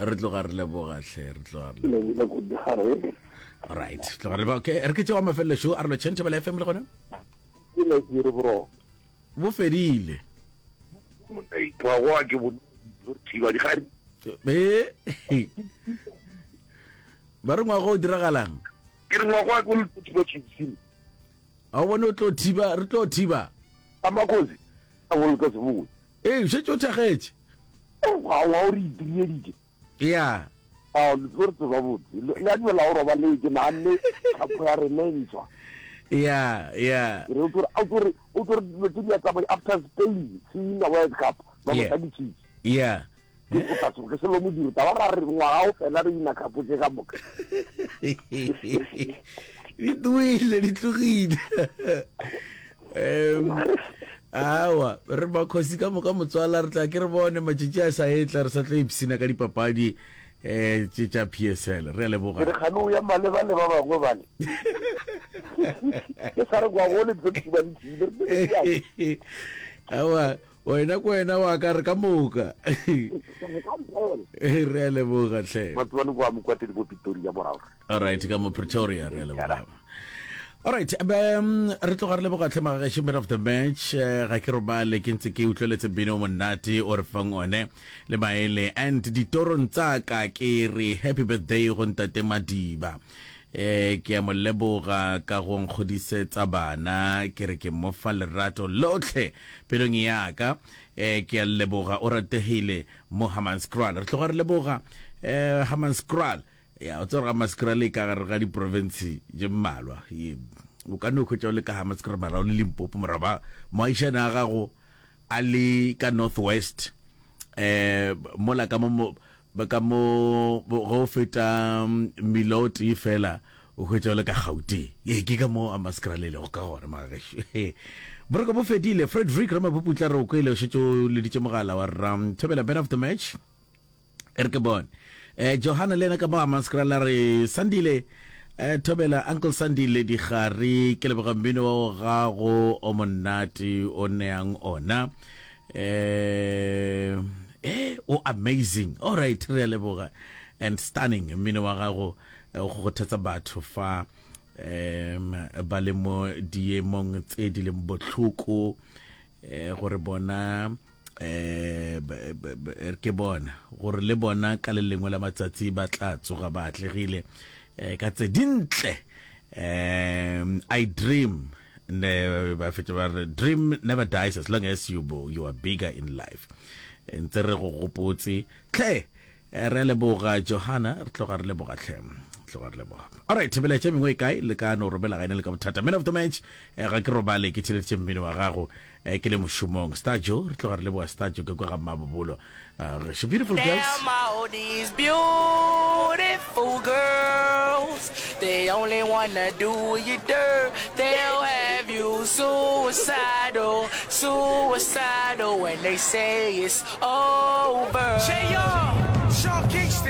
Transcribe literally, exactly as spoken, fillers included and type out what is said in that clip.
Re tloga re leboga hle, re tloga re leboga. Right, tloga re leboga. Okay, re ke tšeo wa mafelelo šo, a re lotšheng Thobela F M le gona. Ke le ke re bro. Bo fedile. Ngwago ke bo thiba dikgadi. Eh. Ba re ngwago o diragalang? Ke re ngwago ke o thiba Chiefs. A o bone o tlo thiba, re tlo thiba. A makozi a boloka se bongwe. Ee, o šetše o thakgetše. Ga wa o re itirieditše. Ya. A le tlo re tseba botse. Le a dumela o robaletše naganne khapo ya rena e ntšwa. Ya, ya. Re o tlo re o tlo re o tlo re dilo tse di a tsamaya after Spain se wina World Cup ba Yeah. botsa di-Chiefs. Ya. Ke o tla tsoge selo modiro taba ra re ngwaga o fela re wina khapo tše ka moka. Di tloile, di tlogile. Um awa, re makgosi ka moka motswala, re tla ke re bone matšatši a sa etla, re sa tlo ipsina ka dipapadi eh tše tša P S L. Re a leboga. Ke re kgane o ya maleba le ba bangwe bale. Ke sa re ngwago o le tlo thiba le thibile, re tlo le thiba. Awa, wena ke wena wa ka re ka moka. Re a leboga hle. Matsobane kwa Mokwatedi mo Pretoria morago. All right, ka mo Pretoria re a leboga. All right, um, re tloga re leboga tlhe magagešu man of the match. Eh, ga ke robale ke ntse ke utlweletse mmino o monate o re fang one le maele and ditorong tsa ka ke re happy birthday go ntate Madiba. Eh, ke a mo leboga ka go nkgodisetsa bana, ke re ke mo fa lerato lotlhe pelong ya ka. Eh, ke a leboga o rategile mo Hammanskraal. Re tloga re leboga eh Hammanskraal. Ya, o tsere Hammanskraal e ka gare ga diprovince tše mmalwa. Ye, o ka no hwetša o le ka Hammanskraal mara o le Limpopo, mara ba moagišane a gago a le ka North West, eh, mola ka mo, mo, ka mo, go feta mmila o tee fela o hwetša o le ka Gauteng. Ye, ke ka mo Hammanskraal e lego ka gona magagešo. Boroko bo fedile. Frederick Ramapuputla re o kwele o šetše o leditše mogala wa rra Thobela man of the match. E re ke bone. Eh, Johanna le yena ka mo Hammanskraal a re Sandile, eh, Thobela Uncle Sandile Digare, ke leboga mmino wa gago o monate o neang ona. Eh, eh, o amazing. All right, re a leboga. And stunning mmino wa gago o go kgothatsa batho fa em ba le mo diemong tse di leng botlhoko, eh, gore bona eh, ke bona gore le bona ka le lengwe la matsatsi ba tla tsoga ba atlegile, eh, ka tse dintle. Um, I dream ne, ba fetša ba re dream never dies as long as you, you are bigger in life. Ntse re go gopotse tlhe. Re a leboga Johanna, re tloga re leboga tlhe, tloga re leboga. All right, melaetša mengwe e kae? Le ka no romela ga ene le ka bothata. Man of the match, eh, ga ke robale ke theleditše mmino wa gago, eh, ke le mošomong. Star Joe, re tloga re leboga Star Joe ke kwa ga Mmabobolo. Uh, she beautiful girls. Damn all these beautiful girls, they only wanna do you dirt. They'll have you suicidal, suicidal when they say it's over. J R, Sean Kingston.